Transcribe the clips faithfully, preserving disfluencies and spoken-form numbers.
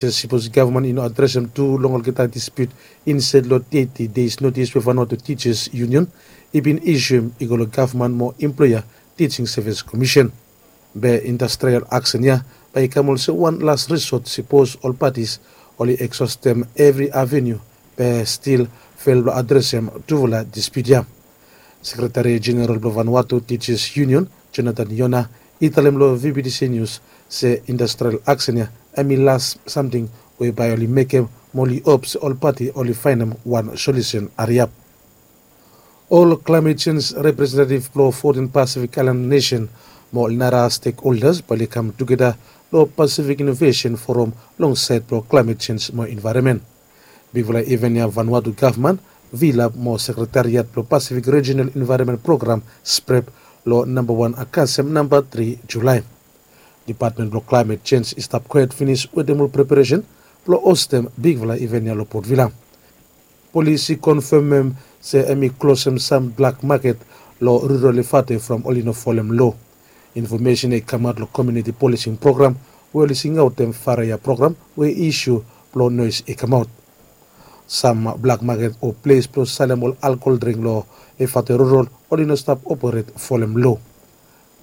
Sipos gavman i no adresem tu long olgeta dispiut insaed long teti deis notis we Vanuatu Teachers Union i bin isium i go long gavman mo employer Teaching Service Commission. Be industrial aksen ya bae i kam olsem wan las risot sipos ol patis oli eksostem evri aveniu be stil fel blong adresem tufala dispiut ya. Sekretari Jeneral blong Vanuatu Teachers Union, Jonathan Yona, i talem long V B T C News se industrial aksen ya hemi las samting we bae oli mekem mo oli hop se ol pati oli faenem wan solusen hariap. Ol klaemet jenj representetiv blong fotin Pasifik aelan nesen mo ol nara stekholdas bae oli kam tugeta long Pasifik Inovesen Foram long saed blong klaemet jenj mo envaeronmen. Bigfala iven ya Vanuatu gavman, VLAP mo sekretariat blong Pasifik Rijonal Envaeronmen Program, SPREP, long namba wan Akasem namba tri Julae. Dipatmen blong klaemet jenj i stap kwaet finis wetem ol preparesen blong hostem bigfala iven ya long Port Vila. Polis i konfemem se hemi klosem sam blak maket long rural Efate from oli no folem loa. Infomesen ya i kamaot long komuniti polising program we oli singaotem Faraia program we isiu blong noes i kamaot. Sam blak maket o ples blong salem ol alkohol dring long Efate rural oli no stap operet folem loa.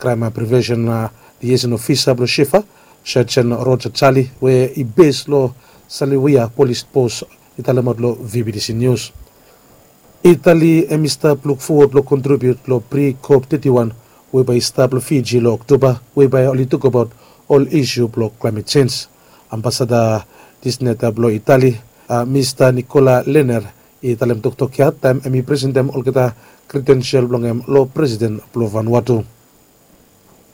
Kraem Prevensen Liaison Ofisa blong SHIEFA, Serjen Roger Charlie, we i bes long Saliwia Polis Pos, i talemaot long V B T C Nius. Itali hemi stap lukfowod blong kontribiut long pri-COP teti wan we bae i stap long Fiji long Oktoba, we bae oli tokbaot ol isiu blong klaemet jenj. Ambasada disneta blong Itali, Mista Nicola Lenner, i talem toktok ya taem hemi presentem olgeta kredensel blong hem long Presiden blong Vanuatu.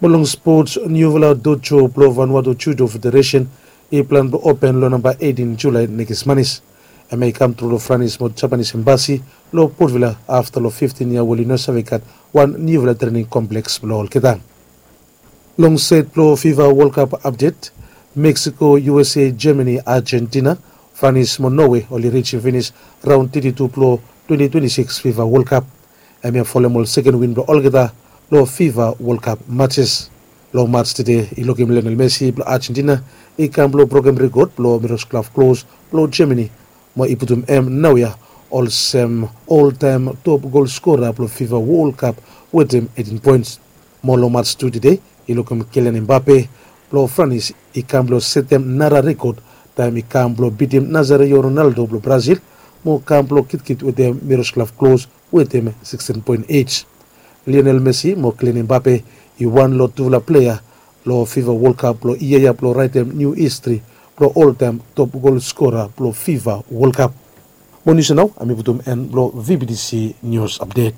Mo long spots, niufala dojo blong Vanuatu Judo Federesen i plan blong open long namba eitin Julae nekis manis. Hemia i kamtru long Franis mo Japanis Embasi long Port Vila afta long fiftin yia we oli no save gat wan niufala trening kompleks blong olgeta. Long saed blong FIFA World Cup apdet, Mexico, U S A, Germany, Argentina, Franis mo Norway oli rijim finis raon teti tu blong twenti twenti sikis FIFA World Cup. Hemia folem ol seken win blong olgeta long FIFA World Cup matches. Long mats tede i lukim Lionel Messi blong Argentina i kam blong brokem rekod blong Miroslav Klose blong Germany mo i putum hem naoia olsem oltaem top gol skora blong FIFA World Cup wetem eitin poens. Mo long mats tu tede i lukim Kylian Mbappe blong Franis i kam blong setem nara rekod taem i kam blong bitim Nazario Ronaldo blong Brazil mo kam blong kitkit wetem Miroslav Klose wetem sikistian poen ij. Lionel Messi mo Kylian Mbappe i wan long tufala plea long FIFA World Cup blong yia ya blong raetem niu histri blong oltaem top gol skora blong FIFA World Cup. Mo nius ya nao hemi putum en blong V B T C Nius Apdet.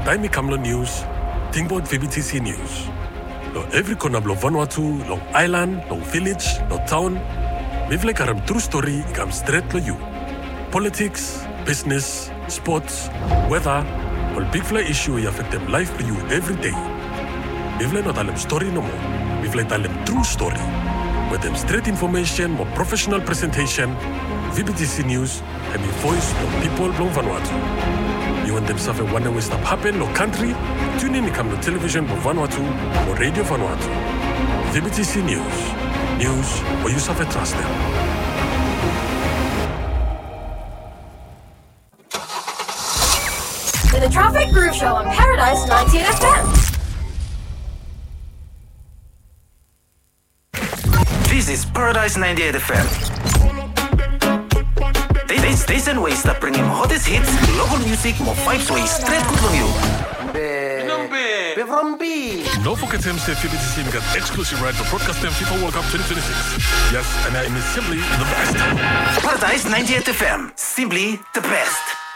Taem i kam long nius, tingbaot V B T C Nius. Long evri kona blong Vanuatu, long aelan, long vilej, long taon, mifala i karem tru stori i kam stret long yu. Politiks, bisnes, spots, weta, ol bigfala isu we i afektem laef blong yu evri dei. Mifala i no talem stori nomo. Mifala i talem tru stori. Wetem stret infomesen mo profesenal presentesen, V B T C Nius hemi voes blong pipol blong Vanuatu. Yu wantem save wanem we i stap hapen long kantri? Tiunin i kam long televisen blong Vanuatu o redio Vanuatu. V B T C Nius. Nius we yu save trastem. The Traffic Groove Show on Paradise ninety-eight F M. This is Paradise ninety-eight F M. This station we i stap bringim hottest hits, local music mo vibes we i stret gud long yu. Be from B. No fogetem se V B T C hemi gat exclusive right blong brodkastem FIFA World Cup twenty twenty-six. Yes, and hemi simply the best. Paradise ninety-eight F M, simply the best.